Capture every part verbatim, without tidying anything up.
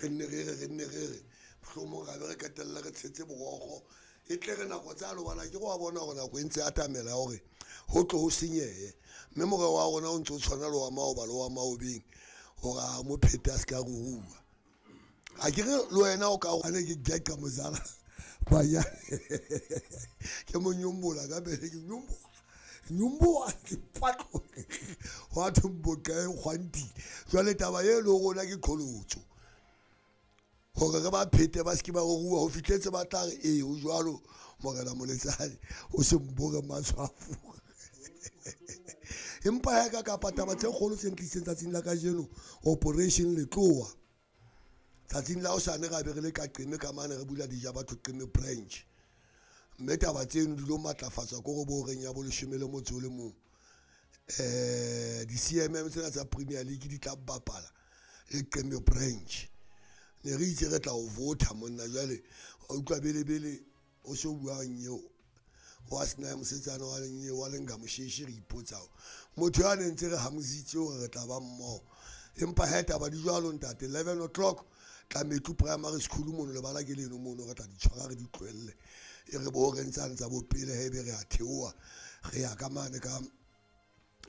Re nne re re re nne re re mohlomong ra be re qetella re tshetse borokgo e tle re nako tsa lobala ke go wa bona gore nako e ntse atamela ya hore ho tlo ho senyehe mme morero wa rona o ntso o tshwana le wa maoba le wa maobeng hore a mo phete a se ka ruruha. Ha ke re le wena o ka ane ke geqa mozala banyane ke mo nyombola ka pele ke nyombola nyombola ke patlo wa thomboka e kgwantile. Jwale taba e le rona ke qholotso hore re ba phete ba se ke ba ruruha ho fihletse ba tla re ee ho jwalo morena Moletsane o se mbore matshwafo. Empa ya ka kapa taba tse kgolo tse ntlisitseng tsatsing la kajeno operation letlowa tsatsing la hosane ra be re le ka Qeme ka mane re bula dija batho Qeme branch mme taba tseno di lo matlafatswa ko re bo reng ya bo leshome le motso o le mong um di-C M M tsena tsa Premier League di tla bapala le Qeme branch. Ne re itse re tla o vota monna jwale wa utlwa bele bele o so buang eo wa sena mosetsana wa leng wa lenga mosheshe re ipotsa motho ya ne ntse re hamositse hore re tla ba mmoho empa ha taba di jwalo ntate eleven o'clock Tlametlu Primary School mono lebala ke leno mono re tla di tshwara re di tlohelle e re bo re ntsane tsa bo pele he be re a theoha re ya ka mane ka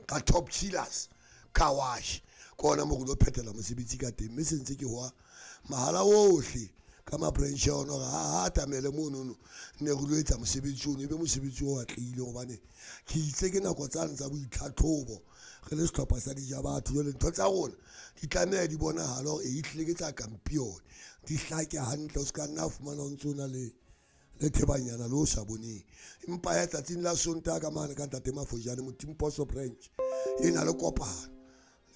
ka Top Chillers car wash ke ona mo re lo phethela mosebetsi ka teng mme se ntse ke hwa mahala ohle ka ma-branch a ona hore ha atamele monono ne re lo etsa mosebetsi ono e be mosebetsi o atlehile hobane ke itse ke nako tsane tsa boitlhatlhobo re le sehlopha sa dija batho jwale ntho tsa rona di tlameha di bonahale hore e hlile ke tsa kampione di hlake hantle o se ka nna a fumana o ntso na le le thebanyana le o sa boneng. Empa ya tsatsing la Sontaha ka mane ka ntate Mafojane Motimposo branch e na le kopano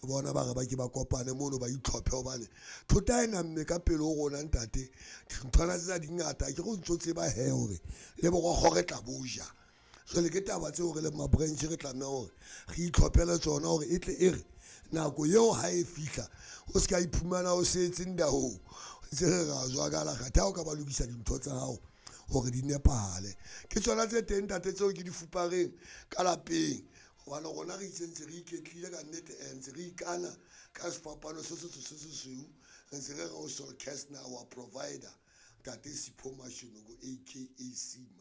le bona ba re ba ke ba kopane mono ba itlhophe hobane thota e namme ka pele ho rona ntate dinthwana tsena di ngata ke go ntso tseba he hore le borokgo re tla bo ja. Jwale ke taba tseo re leng ma-branch re tlameha hore re itlhophele tsona hore e tle e re nako eo ha e fihla o se ka iphumana o setse ndaong ntse re ra jwakala kgathe ha o ka ba lokisa dintho tsa hao hore di nepahale. Ke tsona tse teng ntate tseo ke di fupareng ka lapeng hobane rona re itse ntse re iketlile ka nnete ntse re ikana ka sefapano se setsho se sesweu ntse re re o Sol Kastner our provider ntate Sipho Mashonoko aka Sima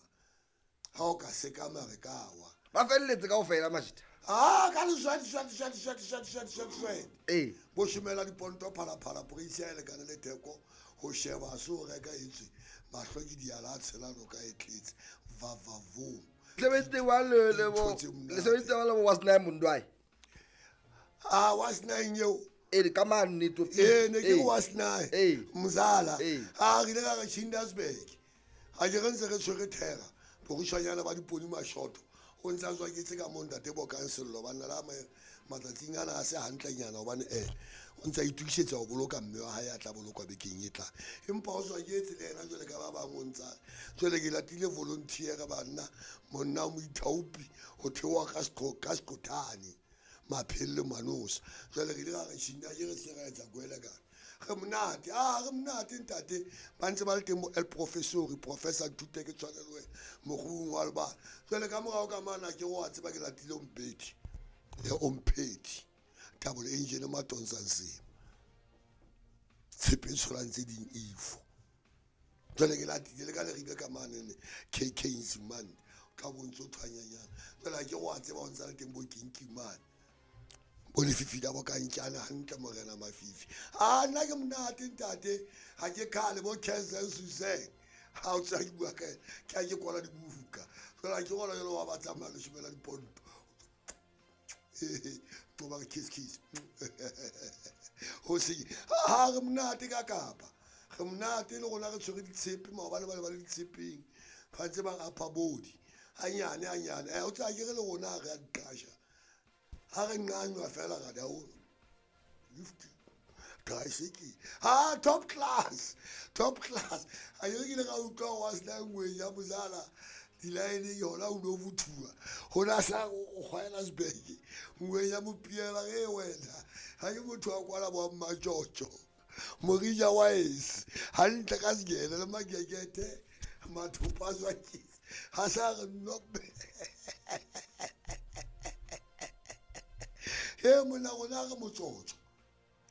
ha o ka sekama re ka wa ba felletse kaofela majita ah ka leswati swati swati swati swati swati swati swati ee bo shomela diponto phalaphala poreisi ya e lekane le theko ho sheba so reka etswe mahlo ke diala a tshela noka e tletse vavavo sebeditse wa le le bo le sebeditse wa le bo was nine Mondwai ah was nine eo e ka mane to e ne ke was nine Ee. mzala Ee. a re ile ka re Chindersburg ha ke re ntse re tshwere thera borushanyana ba diponi mashoto o ntse a tswa ke tse ka mo ntate bo kansello banna la matsatsing ana a se hantlenyana hobane eh o ntse a itokisetsa ho boloka mme wa hae a tla bolokwa bekeng e tlang empa o tswa ke etse le yena jwale ka ba bang o ntsa jwale ke latile volunteer banna monna o moithaopi ho theoha ka seqo ka seqothane maphele manosa jwale re ile ra re shinda ke re se ra etsa kwele ka re monate ah re monate ntate ba ntse ba le teng bo el professori professor Nthute ke tshwane le wena mokgobung wa lebala jwale ka morao ka mana ke go a tseba ke latile ompedi le ompedi Thabo le engine matonsa nsema tshepe e tsholang tse ding ifo jwale ke latile le ka leribe ka mane ne K K Nzimande o tla bo ntso thwanyanyana jwale ha ke go a tseba o ntsa le teng bo kinkimane bo lefifi la bo kantjana hantle morena mafifi a nna ke monate ntate ha ke khale bo Cancer Suzanne ha o tsaya ke bua ka ena ke a ke kwala dibuka jwale ha ke gona jwale wa ba tsamaya le shomela diponto ba re kiss kiss ho se ha re monate ka kapa re monate le rona re tshwere ditshepe maobane ba le ba le ditshepeng ba ntse ba upper body hanyane hanyane eh o tsaya ke re le rona re a diqasha ha re nqanywa fela ra down lift tricycle ha top class top class a ke ile ka utlwa wa sena ngwe ya mozala di-line yona o no bothuwa ho na sa o kgwaela sebeke ngwe ya mopiela ge wena ha ke motho wa kwala bo mmatjotjo morija wa ese hantle ka sekele le makekete mathopa a tswaketse ha sa re nope he monna rona re motsotso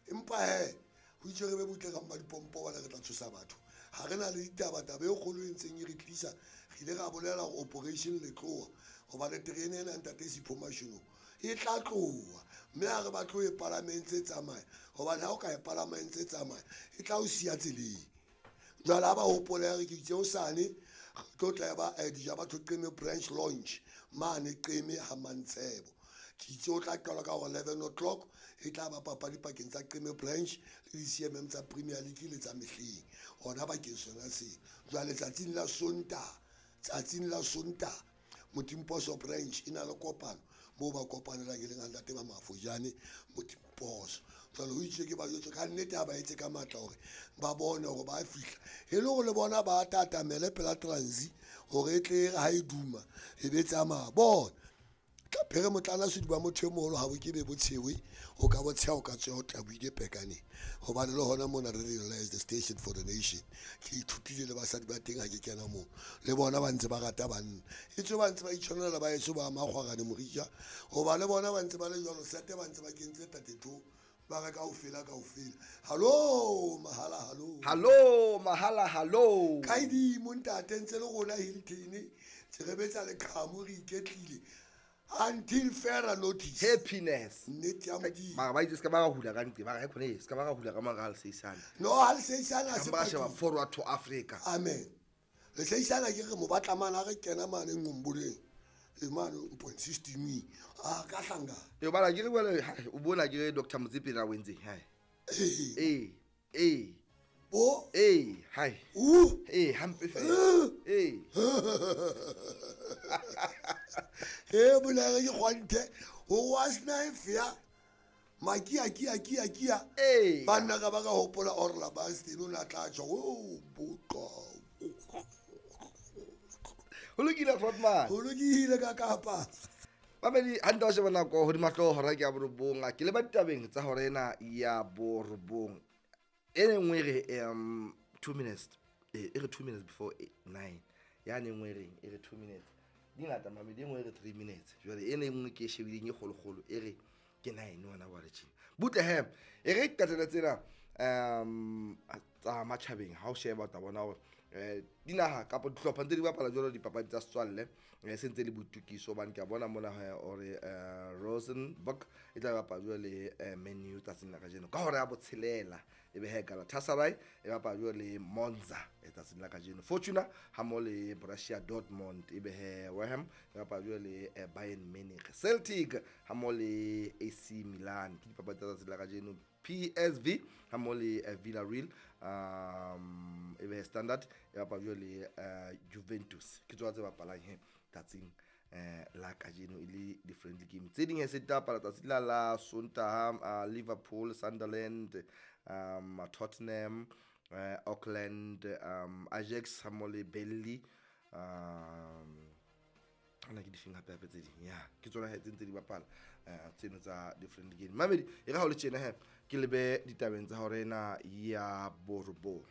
empa he Ho itse re be butle ka mmadipompo bana re tla tshosa batho. Ha re na le ditaba taba e kgolo e ntseng e re tlisa, re ile ra bolela hore operation letloha hobane terene ena ntate Sipho Mashilo e tla tloha mme ha re batle ho e palama e ntse tsamaya hobane ha o ka e palama e ntse tsamaya e tla o siya tseleng. Jwale ha ba hopole re ke itse hosane re tlo tla ba dija batho Qeme branch launch mane Qeme ha Mantshebo. Ke itse o tla qalwa ka eleven o'clock e tla ba papadi pakeng tsa Qeme branch le di-C M M tsa Premier League le tsa mehleng hona bakeng sona seo. Jwale tsatsing la Sontaha, tsatsing la Sontaha Motimposo branch e na le kopano moo ba kopanelang e leng ntate ba Mafojane Motimposo. Jwale ho itse ke ba jwetse ka nnete ha ba etse ka matla hore ba bone hore ba fihla e le hore le bona ba tatamele pela transi hore e tle ha e duma e be tsamaya bona. Tla phere motlana sediba motho e moholo ha bo ke be botshewe o ka botsheha o ka tswa o tabuile pekaneng hobane le hona mona re realize the station for the nation. Ke ithutile le basadi ba teng ha ke kena moo le bona ba ntse ba rata banna e tswe ba ntse ba itshwanela ba eso ba makgwarane morija hoba le bona ba ntse ba le jwalo sete ba ntse ba kentse thirty-two ba re kaofela kaofela. Hallo mahala hallo hallo mahala hallo kaidi montate ntse le rona Hilton tse re betsa le qhamu re iketlile until further notice. Happiness. Nnete ya Modimo. Mara ba itse ska ba hula ka ntse ba re khone ska ba hula ka mara ha le seisana. No ha le seisana se ba sheba forward to Africa. Amen. Le seisana ke re mo batla mana re kena mane ngomboleng. E mane point sixteen a ka hlanga. E bala ke re bala o bona ke re Doctor Motsepe na wentse hai. Eh eh Bo eh hai. U eh hampe fela. Eh. He bolare ke kgwanthe ho was knife ya makia kia kia kia eh banna ka ba ka hopola Orla Bastin o na tla tswa o boqa ho lokile Frotman ho lokile ka kapa mamedi ha nta sheba nako hodima hlooho hora ke ya borobong ke le ba ditabeng tsa hora ena ya borobong e nngwe re um two minutes e re two minutes before nine ya ne nngwe reng e re two minutes dingata mamedi engwe re three minutes jwale ene nngwe ke shebileng e kgolokgolo e re ke nine wona wa re tjena butle he e re qetela tsena um tsa matjhabeng ha o sheba ta bona hore eh dinaha kapa dihlopha ntse di bapala jwalo dipapadi tsa setswalle se ntse le boitukiso hobane ke a bona mona hore Rosenborg e tla bapala jwalo le Man U tsatsing la kajeno ka hora ya botshelela e be he Galatasaray e bapala jwalo le Monza e tsatsing la kajeno Fortuna ha mo le Borussia Dortmund e be he West Ham e bapala jwalo le Bayern Munich Celtic ha mo le A C Milan ke dipapadi tsa tsatsing la kajeno P S V ha mo le Villarreal um e be Standard e bapala jwalo le Juventus ke tswa tse bapalang he tsatsing eh la kajeno e le di friendly game tse ding he se bapala tsatsi la la Sontaha Liverpool Sunderland um Tottenham uh, Auckland um Ajax ha mo le Burnley um ana ke difeng hape hape tse ding ya ke tsona he tse ntse di bapala tseno tsa different game mamedi e re ha o le tjena he ke lebe ditabeng tsa hore ena ya borobong.